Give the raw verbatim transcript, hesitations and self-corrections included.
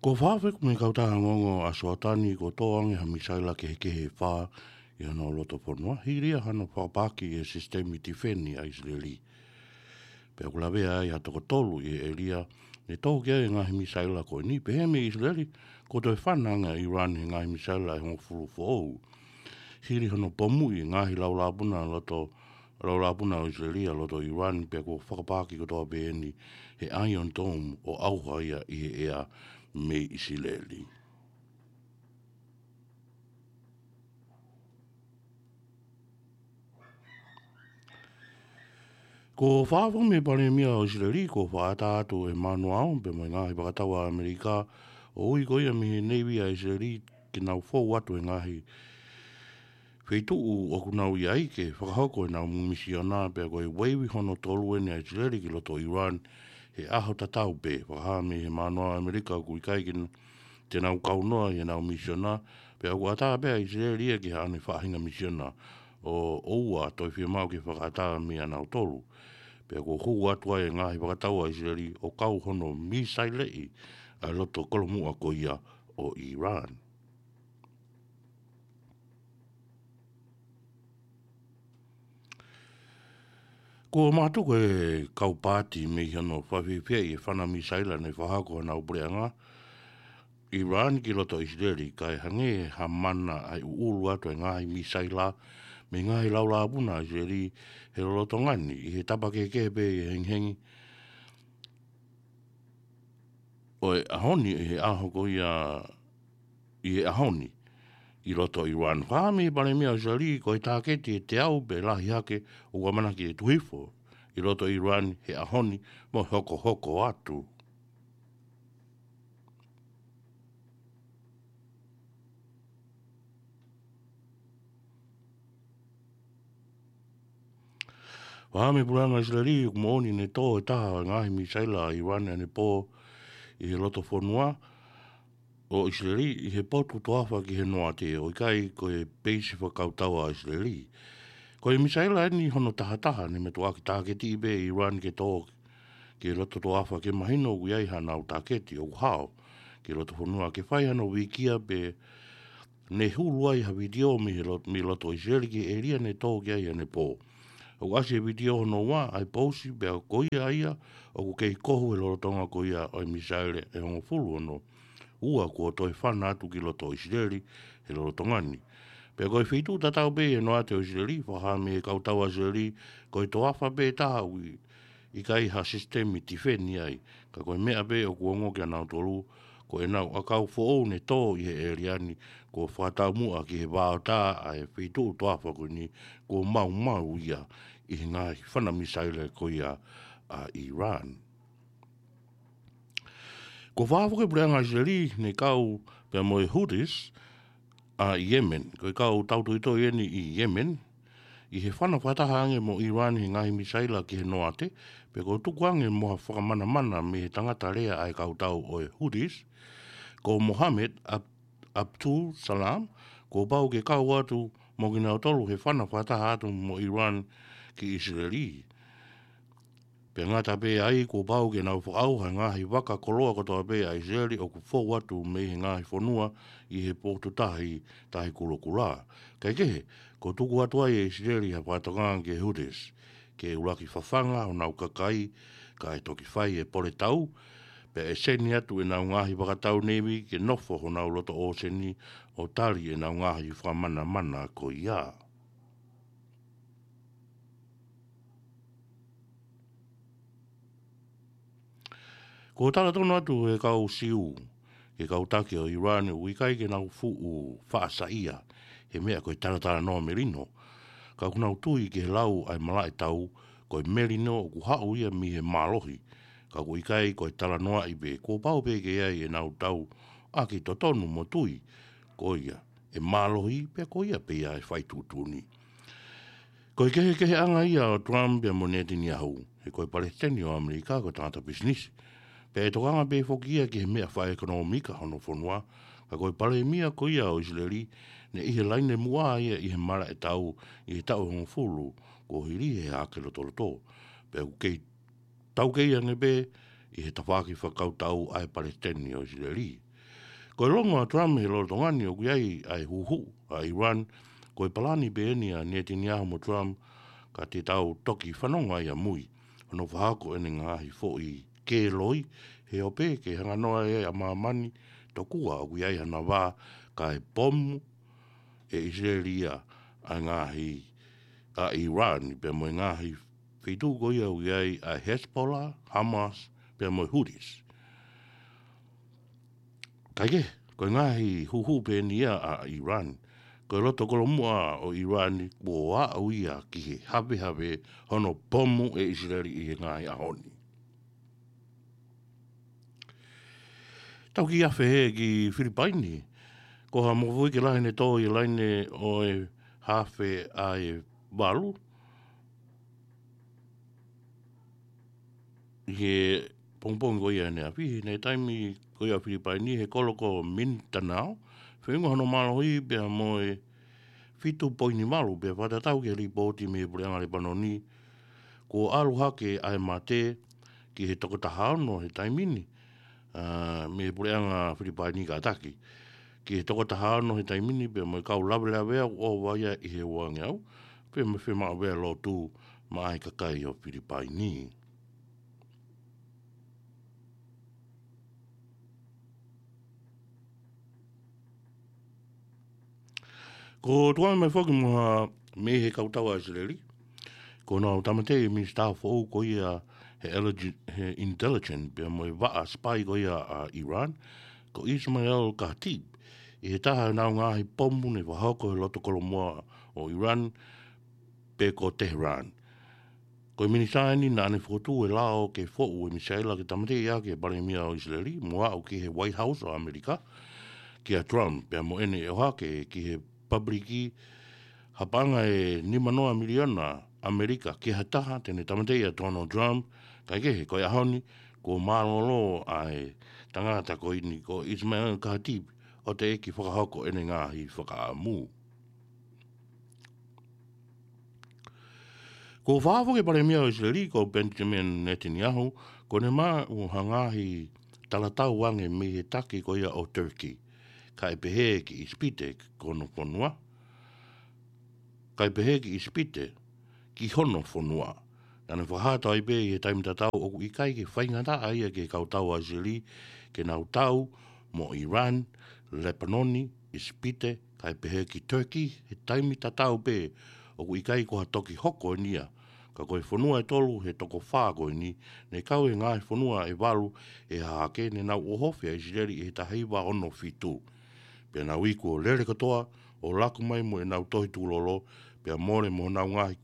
Kuo fakafoki mei he kautaha ongoongo ʻa Soatani kuo tō ange ha misaila kehekehe ʻe fā ʻi hono loto fonua, hili ia hano fakapaaki ʻe he sisitemi tifeni ʻa ʻIsileli. Pea ʻoku lavea ai ha toko tolu ʻi he ʻēlia ne tō ki ai e ngaahi misaila ko eni, pehē mei ʻIsileli, kuo toe fana ange ʻa ʻIran he ngaahi misaila ʻe hongofulu foʻou. Hili hono pomuʻi e ngaahi laulāpuna loto, laulāpuna ʻo ʻIsileli ʻa loto ʻIran, pea kuo fakapaaki kotoa pē eni he Iron Dome ʻo ʻauha ia ʻi he ʻea mei ʻIsileli. Kuo fakafoki mei he Palēmia ʻo ʻIsileli, kuo fakaʻatā atu ʻe Manuao pea mo e ngaahi fakatau ʻa ʻAmelika ʻo ui ko ia mei he Neivi ʻa ʻIsileli ke nau fou atu he ngaahi feituʻu ʻoku nau ʻi ai ke fakahoko ʻenau misiona, pea ko e ueivi hono tolu eni ʻa ʻIsileli ki loto ʻIran he ʻaho tatau pē. Fakahā mei he Manuao ʻa ʻAmelika ʻoku ʻikai ke n-, te nau kaunoa ʻi heʻenau misiona, pea ʻoku ʻatā pē ʻa ʻIsileli ia ki haʻane faʻahinga misiona, ʻo, ʻoua toe fiemaʻu ke fakaʻatā mei ʻanautolu. Pea kuo hū atu ai e ngaahi fakatau ʻa ʻIsileli ʻo kau hono misaileʻi ʻa e loto kolomuʻa ko ia ʻo ʻIran. Kuo mātuku e kau paati mei hono fakafiefia ʻi he fana misaila ne fakahoko ʻe honau puleʻanga ʻIran ki loto ʻIsileli, kae hangē ha mana ʻa e ʻuʻulu atu e ngaahi misaila mei he ngaahi laulāpuna ʻa ʻIsileli he lolotonga ni, ʻi he tapa kehekehe pē ʻi he hengihengi ʻo e ʻaho ni, ʻi he ʻaho ko ia, ʻi he ʻaho ni, ʻi loto ʻIran. Fakahā mei he Palēmia ʻo ʻIsileli, ko e tāketi ʻe teau pē lahi hake ʻoku ʻamanaki ʻe tuku hifo ʻi loto ʻIran he ʻaho ni mo hokohoko atu. Fakahā mei he puleʻanga ʻIsileli, ʻoku moʻoni ne tō e taha ʻo e ngaahi misaila ʻa ʻIran ʻanepō ʻi he loto fonua ʻo ʻIsileli, ʻi he potu toafa ki he noate, ʻo ʻikai ko e peisi fakakautau ʻa ʻIsileli. Ko e misaila eni hono tahataha ne mātuʻaki tāketiʻi pē ʻe ʻIran ke tō ki he loto toafa, ke mahino ʻoku ʻi ai haʻanau tāketi ʻoku hao ki he loto fonua, ke fai hano vīkia, pea ne hulu ai ha vitiō mei he lot-, mei loto ʻIsileli ki he ʻēlia ne tō ki ai ʻanepō. ʻOku ʻasi he vitiō hono ua ʻa e pousi, pea ko ia ia ʻoku kei kohu he lolotonga ko ia ʻo e misaila ʻe hongofulu ono ua kuo toe fana atu ki loto ʻIsileli he lolotonga ni. Pea ko e feituʻu tatau pē ʻi he noate ʻo ʻIsileli, fakahā mei he kautau ʻa ʻIsileli, ko e toafa pē taha ʻoku ʻikai ha sisitemi tifeni ai. Ka ko e meʻa pē ʻoku ongo kia nautolu, ko ʻenau ʻakau foʻou ne tō ʻi he ʻēlia ni, kuo fakataumuʻa ki he vaotā ʻa e feituʻu toafa ko eni, kuo maumau ia ʻi he ngaahi fana misaila ko ia ʻa ʻIran. Kuo fakafoki e puleʻanga ʻIsileli ne kau pea mo e Houthis ʻa Yemen, ko e kau tautoitoi eni ʻi Yemen, ʻi he fana fakataha ange mo ʻIran he ngaahi misaila ki he noate, pea kuo tuku ange mo ha fakamanamana mei he tangata lea ʻa e kautau ʻo e Houthis, ko Mohammed Ab-, Abdul Salam, kuo pau ke kau atu mo kinautolu he fana fakataha atu mo ʻIran ki ʻIsileli. Pea ngata pē ai, kuo pau ke nau fakaʻauha e ngaahi vaka koloa kotoa pē ʻa ʻIsileli ʻoku fou atu mei he ngaahi fonua ʻi he potu tahi, tahi kulokula. Kae kehe, kuo tuku atu ai ʻe ʻIsileli ha fakatokanga ki he Houthis ke ʻuluaki fafanga honau kakai, kae toki fai e pole tau, pea ʻe seni atu ʻenau ngaahi fakatau neivi ke nofo honau loto ʻōseni ʻo tali ʻenau ngaahi fakamanamana ko ia. Kuo talatonu atu ʻe he kau Siu ki he kau taki ʻo ʻIran ʻoku ʻikai ke nau fuʻu faʻa saiʻia he meʻa ko e talatalanoa melino. Ka ʻoku nau tui ki he lau ʻa e malaʻe tau, ko e melino ʻoku haʻu ia mei he mālohi. Ka ʻoku ʻikai ko e talanoaʻi pē, kuo pau pē ke ʻi ai ʻenau tauʻaki totonu mo tui ko ia ʻe mālohi, pea ko ia pē ia ʻe fai tuʻutuʻuni. Ko e kehekeheʻanga ia ʻo Trump pea mo Netanyahu, he ko e palesiteni ʻo ʻAmelika ko e tangata pisinisi. Pea ʻe tokanga pē foki ia ki he meʻa fakaʻekonōmika hono fonua, ka ko e palēmia ko ia ʻo ʻIsileli, ne ʻi he laine muʻa ia ʻi he malaʻe tau ʻi he taʻu hongofulu kuo hili he hake lotoloto. Pea ʻoku kei taukei ange pē ʻi he tafaʻaki fakakautau ʻa e palesiteni ʻo ʻIsileli. Ko e longo ʻa Trump he lolotonga ni ʻoku ʻi ai ʻa e huhu ʻa ʻIran, ko e palani pē eni ʻa Netanyahu mo Trump, ka te tau toki fanongo ai ʻamui hono fakahoko ʻene ngaahi foʻi kē loi, he ʻo pē ke hanganoa ai ʻa māmani tokua ʻoku ʻi ai hana vā kae pomu ʻe ʻIsileli ia ʻa e ngaahi ʻa ʻIran, pea mo e ngaahi feituʻu ko ia ʻoku ʻi ai ʻa Hezbollah, Hamas, pea mo e Houthis. Kaikehe, ko e ngaahi huhu pē eni ia ʻa ʻIran. Ko e loto kolomuʻa ʻo ʻIran kuo aʻu ia ki he havehave hono pomu ʻe ʻIsileli ʻi he ngaahi ʻaho ni. Tau kiʻi afe hē ki Filipaini. Ko ha mofuike lahi ne tō ʻi he laine ʻo e hafe ʻa e valu ʻi he pongipongi ko ia ʻanenai, ʻi he taimi ko ia Filipaini, he kolo ko Mindanao, feinga hono mālohi pea mo e fitu poini valu, pea fakatatau ki he lipooti mei he Puleʻanga Lepanoni, kuo ʻalu hake ʻa e mate ki he toko taha ono he taimi ni, ā, mei he Puleʻanga Filipaini kātaki. Ki he toko taha ono he taimi ni pea mo e kau lavelavea ʻoku ʻova ia ʻi he uangeau, pea mo e fiemaʻu pē ʻa e lotu maʻa e kakai ʻo Filipaini. Ko Tuami mai foki mo ha mei he kautau ʻa ʻIsileli, ko ʻenau tāmateʻi minisitā foʻou ko ia he elegi-, he intelligence pea mo e vaʻa spy ko ia ʻa ʻIran, ko Ismail Khatib, ʻi he taha ʻenau ngaahi pomu ne fakahoko he loto kolomuʻa ʻo ʻIran, pe ko Tehran. Ko e minisitā eni naʻa ne fokotuʻu e lao ke foʻu e misaila ke tāmateʻi ʻaki e palēmia ʻo ʻIsileli, mo aʻu ki he White House ʻo ʻAmelika, kia Trump, pea mo ʻene ʻohake ki he pāpuliki ha paʻanga ʻe nima noa miliona ʻAmelika ki ha taha te ne tāmateʻi ʻa Donald Trump, kaikehe ko e ʻaho ni, kuo mālōlō ʻa e tangata ko eni ko Ismail Khatib ʻo teʻeki fakahoko ʻene ngaahi fakaʻamu. Ko e fakafoki palēmia ʻo ʻIsileli ko Benjamin Netanyahu, ko ʻene maʻu ha ngaahi talatau ange mei he taki ko ia ʻo Turkey, kae pehē ki ʻIsipite ko hono fonua, kae pehē ki ʻIsipite ki hono fonua. Naʻa ne fakahā atu ai pē ʻi he taimi tatau ʻoku ʻikai ke faingataʻa ia ki he kautau ʻa ʻIsileli ke nau tau mo ʻIran, Lepanoni, ʻIsipite, kae pehē ki Turkey, he taimi tatau pē ʻoku ʻikai ko ha toki hoko eni ia. Ka ko e fonua ʻe tolu he toko fā ko eni, ne kau he ngaahi fonua ʻe valu ʻe hahake, ne nau ʻohofi ʻa ʻIsileli ʻi he taha hiva ono fitu. Pea nau iku ʻo lele kotoa, ʻo laku mai mo ʻenau tohi tukulolo, pea mole mo honau ngaahi